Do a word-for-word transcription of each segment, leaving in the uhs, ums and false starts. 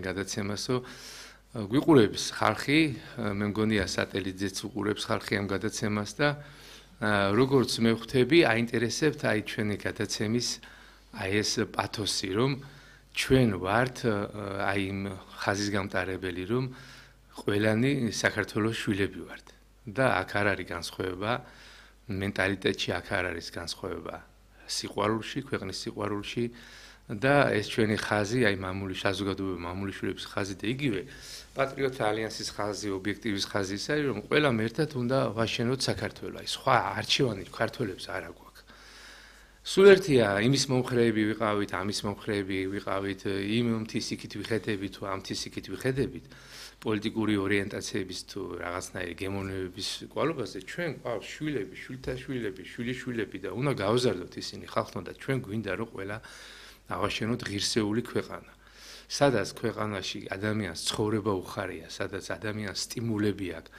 ძალიან გადაცემას, რომ გვიყურებს ხალხი, მე მგონია სატელიტზეც უყურებს ხალხი ამ გადაცემას და როგორც მე ვხვდები, აინტერესებთ აი ჩვენი გადაცემის აი ეს პათოსი, რომ ჩვენ ვართ აი იმ ხაზის გამტარებელი, რომ ყველანი საქართველოს შვილები ვართ და აქ არ არის განსხვავება, მენტალიტეტში აქ არ არის განსხვავება, სიყვარულში, ქვეყნის სიყვარულში და ეს ჩვენი ხაზი, აი მამული საზოგადოება, მამული შვილების ხაზი და იგივე პატრიოტთა ალიანსის ხაზი, ობიექტივის ხაზი ის არის, რომ ყველამ ერთად უნდა ვაშენოთ საქართველო. აი სხვა არჩევანი ქართველებს არ აქვს. სულ ერთია იმის მომხრეები ვიყავით, ამის მომხრეები ვიყავით, იმ მთის იქით ვიხედებით თუ ამ მთის იქით ვიხედებით, პოლიტიკური ორიენტაციების თუ რაღაცნაირი გემოვნებების კვალობაზე, ჩვენ ყავს შვილები, შვილთა შვილები, შვილიშვილები და უნდა გავზარდოთ ისინი ხალხთან და ჩვენ გვინდა რომ ყველა ავაშენოთ ღირსეული ქვეყანა. სადაც ქვეყანაში ადამიანს ცხოვრება უხარია, სადაც ადამიანს სტიმულები აქვს.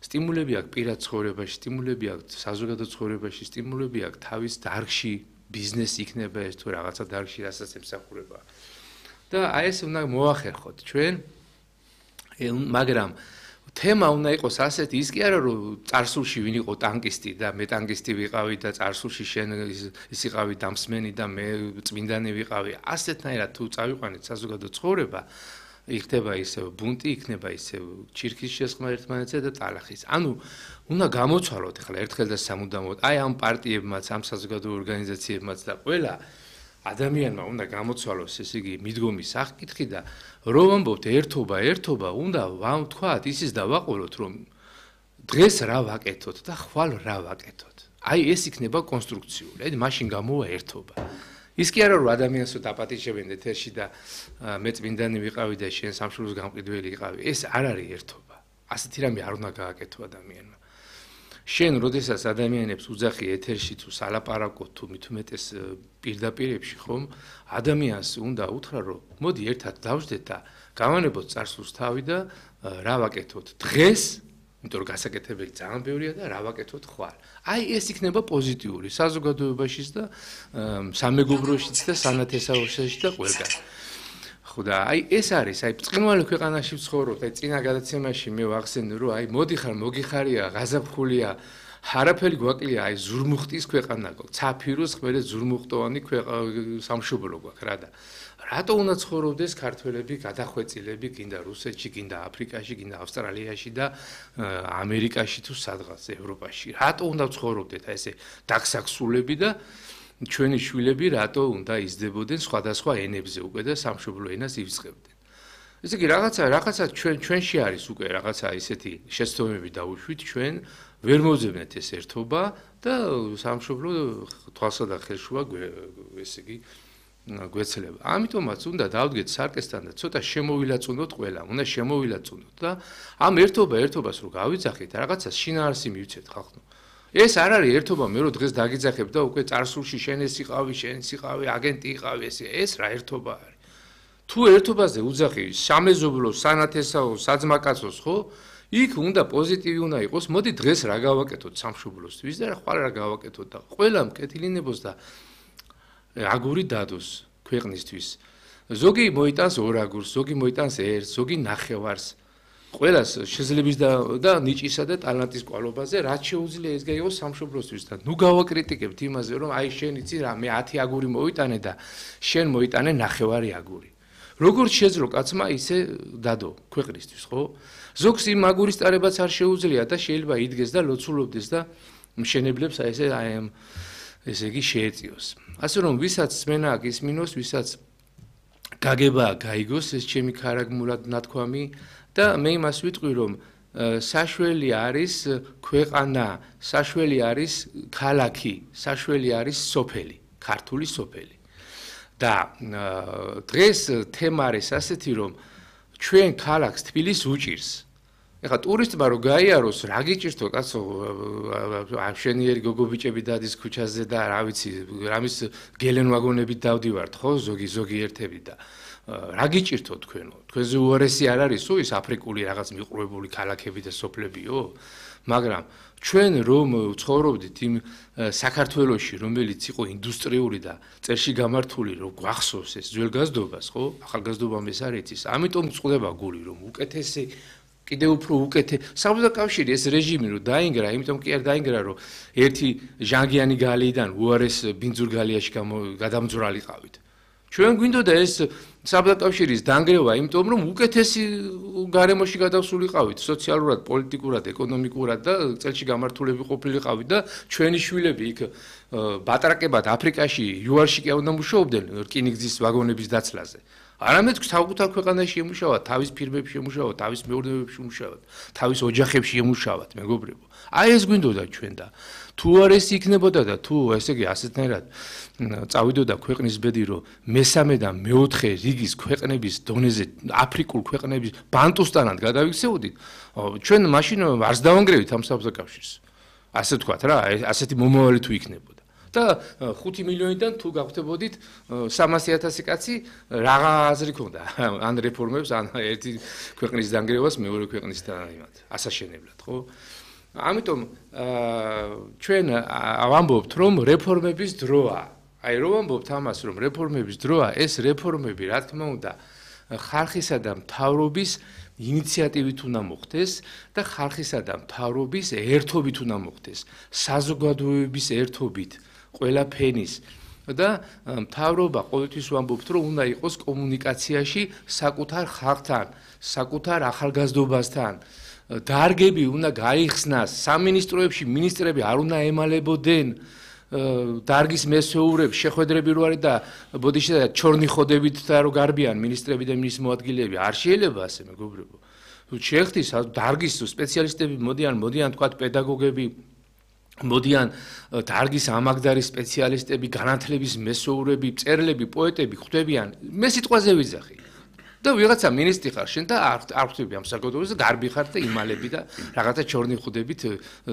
სტიმულები აქვს პირად ცხოვრებაში, სტიმულები აქვს საზოგადო ცხოვრებაში, სტიმულები აქვს თავის დარგში, ბიზნესი იქნება ეს თუ რაღაცა დარგში, რასაც ემსახურება. და აი ეს უნდა მოახერხოთ ჩვენ, მაგრამ თემა უნდა იყოს ასეთი, ის კი არა რომ წარსულში ვინ იყო ტანკისტი და მე ტანკისტი ვიყავი და წარსულში შენ ის იყავი დამსმენი და მე წმინდანი ვიყავი. ასეთნაირად თუ წავიყვანეთ საზოგადო ცხოვრება, იქნება ისევ ბუნტი, იქნება ისევ ჩირქის შესხმა ერთმანეთზე და ტალახის. ანუ უნდა გამოცვალოთ ახლა ერთხელ და სამუდამოდ აი ამ პარტიებმაც, ამ საზოგადო ორგანიზაციებმაც და ყველა ადამიანმა უნდა გამოცვალოს ეს იგი მიდგომის სახკითხი და რომ ამბობთ ერთობა, ერთობა, უნდა ვთქვათ, ისიც დავაყოლოთ, რომ დღეს რა ვაკეთოთ და ხვალ რა ვაკეთოთ. აი ეს იქნება კონსტრუქციული, აი მაშინ გამოვა ერთობა. ის კი არა რომ ადამიანს დაპატიჟებენ ეთერში და მე წმინდანი ვიყავი და შენ სამშობლოს გამყიდველი იყავი. ეს არ არის ერთობა. ასეთი რამე არ უნდა გააკეთო ადამიანმა. შენ როდესაც ადამიანებს უძახი ეთერში თუ სალაპარაკოთ თუ მით უმეტეს პირდაპირებში ხომ ადამიანს უნდა უთხრა რომ მოდი ერთად დავждეთ და გავანებოთ წარსულს თავი და რა ვაკეთოთ დღეს, იმიტომ რომ გასაკეთებელი ძალიან ბევრია და რა ვაკეთოთ ხვალ. აი ეს იქნება პოზიტიური საზოგადოებაშიც და სამეგობროშიც და სანათესაურშიც და ყველგან. ხო და აი ეს არის, აი ბრწყინვალე ქვეყანაში ვცხოვრობთ, აი წინა გადაცემაში მე ვახსენე რომ აი მოდიხარ, მოგიხარია, ღაზაფხულია, არაფერი გვაკლია, აი ზურმუხტის ქვეყანა გვაქვს, ცაფიროს ხმელეთ ზურმუხტოვანი სამშობლო გვაქვს რა და რატო უნდა ცხოვრობდეს ქართველები, გადახვეწილები, გინდა რუსეთში, გინდა აფრიკაში, გინდა ავსტრალიაში და ამერიკაში თუ სადღაც ევროპაში. რატო უნდა ცხოვრობდეთ აი ესე დაგსაქსულები და ჩვენი შვილები რატო უნდა იზრდებოდნენ სხვადასხვა ენებზე უკვე და სამშობლო ენას ივიწყებდნენ. ესე იგი რაღაცა რაღაცა ჩვენ ჩვენში არის უკვე რაღაცა ისეთი შეცდომები დავუშვით ჩვენ ვერ მოძებნეთ ეს ერთობა და სამშობლო თვალსა და ხელშუა ესე იგი გვეცლება. ამიტომაც უნდა დავდგეთ სარკესთან და ცოტა შემოვილაწუნოთ ყველა, უნდა შემოვილაწუნოთ და ამ ერთობა ერთობას რო გავიძახით, რაღაცა შინაარსი მივცეთ ხალხო. ეს არ არის ერთობა, მე რო დღეს დაგიძახებ და უკვე წარსულში შენ ეს იყავი, შენ ის იყავი, აგენტი იყავი, ეს ეს რა ერთობა არის. თუ ერთობაზე უძახი სამეზობლო, სანათესაო, საძმაკაცოს, ხო? იქ უნდა პოზიტივი უნდა იყოს. მოდი დღეს რა გავაკეთოთ სამშობლოსთვის და ხვალ რა გავაკეთოთ და ყველა მკეთილინებოს და აგური დადოს ქვეყნისთვის. ზოგი მოიტანს ორ აგურს, ზოგი მოიტანს ერთს, ზოგი ნახევარს. ყველას შეძლების და და ნიჭისა და ტალანტის კვალობაზე რაც შეუძლია ეს გაიგოს სამშობლოსთვის და ნუ გავაკრიტიკებთ იმაზე რომ აი შენ იცი რა მე ათი აგური მოიტანე და შენ მოიტანე ნახევარი აგური. როგორც შეძლო კაცმა ისე დადო ქვეყნისთვის, ხო? ზოგს იმ აგურის ტარებაც არ შეუძლია და შეიძლება იდგეს და ლოცულობდეს და მშენებლებს აი ესე აი ამ ესე იგი შეეწიოს. ასე რომ ვისაც სმენა აქვს ისმინოს, ვისაც გაგება გაიგოს ეს ჩემი ქარაგმულად ნათქვამი და მე იმას ვიტყვი რომ საშველი არის ქვეყანა, საშველი არის ქალაქი, საშველი არის სოფელი, ქართული სოფელი. და დღეს თემა არის ასეთი რომ ჩვენ ქალაქს თბილისს უჭირს. ეხლა ტურისტმა რო გაიაროს, რა გიჭირთო კაცო, ამშენიერი გოგობიჭები დადის ქუჩაზე და რა ვიცი, რამის გელენ ვაგონებით დავდივართ, ხო, ზოგი ზოგი ერთები და რა გიჭირთო თქვენო? თქვენზე უარესი არ არისო ის აფრიკული რაღაც მიყრუებული ქალაქები და სოფლებიო? მაგრამ ჩვენ რომ ცხოვრობდით იმ საქართველოში, რომელიც იყო ინდუსტრიული და წერში გამართული, რომ გვახსოვს ეს ძველგაზრდობას, ხო? ახალგაზრდობამ ეს არ იცის. ამიტომ წყვდება გული, რომ უკეთესი კიდე უფრო უკეთე საბჭოთა კავშირი ეს რეჟიმი რომ დაინგრა, იმიტომ კი არ დაინგრა, რომ ერთი ჟანგიანი გალიიდან უარეს ბინძურგალიაში გადამძვრალიყავით. ჩვენ გვინდოდა ეს საბჭოთა კავშირის დანგრევა, იმიტომ რომ უკეთესი გარემოში გადავსულიყავით, სოციალურად, პოლიტიკურად, ეკონომიკურად და წელში გამართულები ყოფილიყავით და ჩვენი შვილები იქ ბატრაკებად აფრიკაში, იუარში კი უნდა მუშაობდნენ რკინიგზის ვაგონების დაცლაზე. არამედ საკუთარ ქვეყანაში ემუშავათ, თავის ფირმებში ემუშავათ, თავის მეურნეობებში ემუშავათ, თავის ოჯახებში ემუშავათ, მეგობრებო. აი ეს გვინდოდა ჩვენ და თუ არ ეს იქნებოდა და თუ ესე იგი ასეთნაირად წავიდოდა ქვეყნის ბედი, რომ მესამე და მეოთხე რიგის ქვეყნების დონეზე აფრიკულ ქვეყნების ბანტუსტანად გადავიქცეოდით, ჩვენ მაშინ არც დავანგრევით ამ საბჭოთა კავშირს. ასე ვთქვათ რა, ასეთი მომავალი თუ იქნებოდა. და ხუთი მილიონიდან თუ გავხდებოდით სამასი ათასი კაცი რაღა აზრი ქონდა ან რეფორმებს ან ერთი ქვეყნის დანგრევას მეორე ქვეყნის და იმათ ასაშენებლად, ხო? ამიტომ ჩვენ ვამბობთ, რომ რეფორმების დროა. აი რომ ვამბობთ ამას, რომ რეფორმების დროა, ეს რეფორმები, რა თქმა უნდა, ხალხისა და მთავრობის ინიციატივით უნდა მოხდეს და ხალხისა და მთავრობის ერთობით უნდა მოხდეს, საზოგადოების ერთობით. ყველა ფენის და მთავრობა ყოველთვის ვამბობთ, რომ უნდა იყოს კომუნიკაციაში საკუთარ ხალხთან, საკუთარ ახალგაზრდობასთან. დარგები უნდა გაიხსნას, სამინისტროებში მინისტრები არ უნდა ემალებოდნენ დარგის მესვეურებს, შეხვედრები რო არის და ბოდიში და ჩორნი ხოდებით და რო გარბიან მინისტრები და მინისტრ მოადგილეები, არ შეიძლება ასე, მეგობრებო. თუ შეხვდით დარგის სპეციალისტები მოდიან, მოდიან თქვა პედაგოგები მოდიან დარგის ამაგდარი სპეციალისტები, განათლების მესვეურები, მწერლები, პოეტები ხვდებიან. მე სიტყვაზე ვიძახი. და ვიღაცა მინისტრი ხარ შენ და არ ხვდები ამ საკუთრებას და გარბი ხარ და იმალები და რაღაცა ჩორნი ხვდებით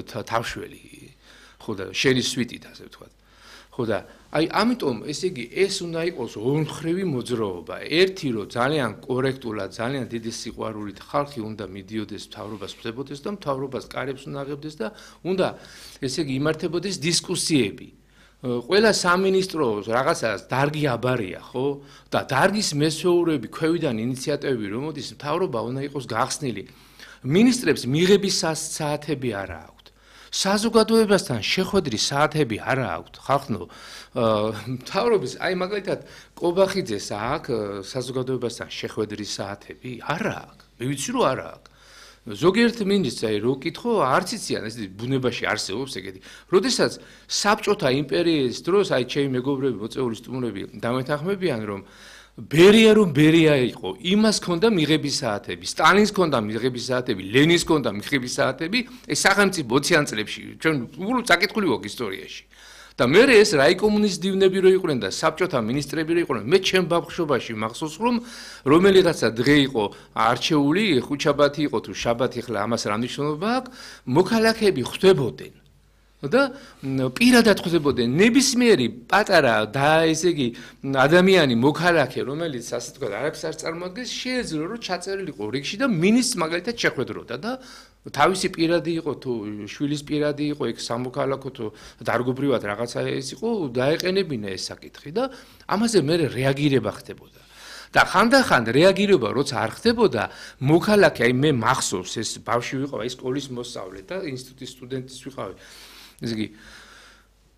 თავშველი. ხო და შენი სვიტით ასე ვთქვათ. ხო და აი ამიტომ ესე იგი ეს უნდა იყოს ორმხრივი მოძრაობა. ერთი რომ ძალიან კორექტულად, ძალიან დიდი სიყვარულით ხალხი უნდა მიდიოდეს მთავრობას ხვდებოდეს და მთავრობას კარებს უნდა აღებდეს და უნდა ესე იგი იმართებოდეს დისკუსიები. ყველა სამინისტროს რაღაცას დარგი აბარია, ხო? და დარგის მესვეურები, ქვევიდან ინიციატივები რომ მოდის, მთავრობა უნდა იყოს გახსნილი. მინისტრებს მიღების საათები არ აქვს. საზოგადოებასთან შეხვედრის საათები არ აქვს. ხალხო, მთავრობის, აი მაგალითად, კობახიძეს აქვს საზოგადოებასთან შეხვედრის საათები? არ აქვს. მე ვიცი რომ არ აქვს. ზოგიერთ მინისტრს აი რო კითხო, არც იციან, ეს ბუნებაში არსებობს ეგეთი. როდესაც საბჭოთა იმპერიის დროს აი ჩემი მეგობრები, მოწეული სტუმრები დამეთანხმებიან, რომ ბერია რომ ბერია იყო, იმას ქონდა მიღების საათები, სტალინს ქონდა მიღების საათები, ლენინს ქონდა მიღების საათები, ეს სახელმწიფო ოციან წლებში, ჩვენ უბრალოდ საკითხული ვაქვს ისტორიაში. და მე ეს რაიკომუნის დივნები რო იყვნენ და საბჭოთა მინისტრები რო იყვნენ, მე ჩემ ბავშვობაში მახსოვს, რომ რომელიღაცა დღე იყო არჩეული, ხუთშაბათი იყო თუ შაბათი, ხლა ამას რა მნიშვნელობა აქვს, მოქალაქეები ხვდებოდნენ. და პირადად ხვდებოდნენ ნებისმიერი პატარა და ესე იგი ადამიანი მოქალაქე, რომელიც ასე თქვა არაფერს არ წარმოადგენს, შეეძლო რომ ჩაწერილიყო რიგში და მინისტრს მაგალითად შეხვედროდა და თავისი პირადი იყო თუ შვილის პირადი იყო ეგ სამოქალაქო თუ დარგობრივად რაღაცა ეს იყო, დაეყენებინა ეს საკითხი და ამაზე მე რეაგირება ხდებოდა. და ხანდახან რეაგირება როცა არ ხდებოდა, მოქალაქე, აი მე მახსოვს ეს ბავშვი ვიყავ, აი სკოლის მოსწავლე და ინსტიტუტის სტუდენტის ვიყავ. ესე იგი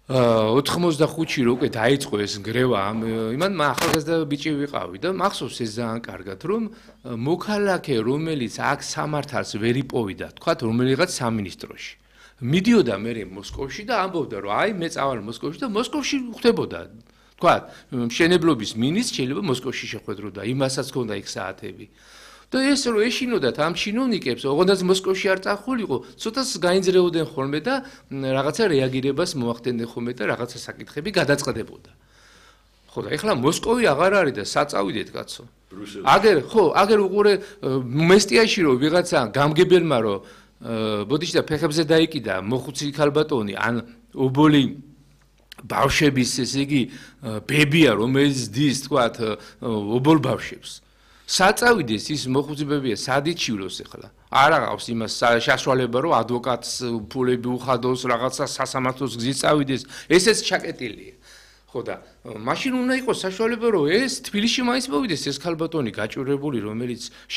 ოთხმოცდახუთში რო უკვე დაიწყო ეს ნგრევა, იმან ახალგაზრდა ბიჭი ვიყავი და მახსოვს ეს ძალიან კარგად, რომ მოქალაქე, რომელიც აქ სამართალს ვერ იპოვიდა, თქვათ რომელიღაც სამინისტროში. მიდიოდა მე მოსკოვში და ამბობდა, რომ აი მე წავალ მოსკოვში და მოსკოვში ხდებოდა. თქვათ, მშენებლობის მინისტრს შეიძლება მოსკოვში შეხვედროდა, იმასაც ჰქონდა იქ საათები. და ეს რო ეშინოდათ ამ ჩინოვნიკებს, ოღონდაც მოსკოვში არ წახულიყო, ცოტას გაინძრეოდნენ ხოლმე და რაღაცა რეაგირებას მოახდენენ ხოლმე და რაღაცა საკითხები გადაწყდებოდა. ხო და ეხლა მოსკოვი აღარ არის და საწავიდეთ კაცო. აგერ ხო, აგერ უყურე მესტიაში რო ვიღაცა გამგებელმა რო ბოდიში და ფეხებზე დაიკიდა მოხუცი ქალბატონი ან ობოლი ბავშვების ესე იგი ბებია რომელიც დის თქვათ ობოლ ბავშვებს საწავიდეს ის მოხუცებებია სად იჩივლოს ახლა არ აღავს იმას საშუალება რომ ადვოკატს ფულები უხადოს რაღაცა სასამართლოს გზით წავიდეს ესეც ჩაკეტილია ხო და მაშინ უნდა იყოს საშუალება რომ ეს თბილისში მაინც მოვიდეს ეს ქალბატონი გაჭირებული რომელიც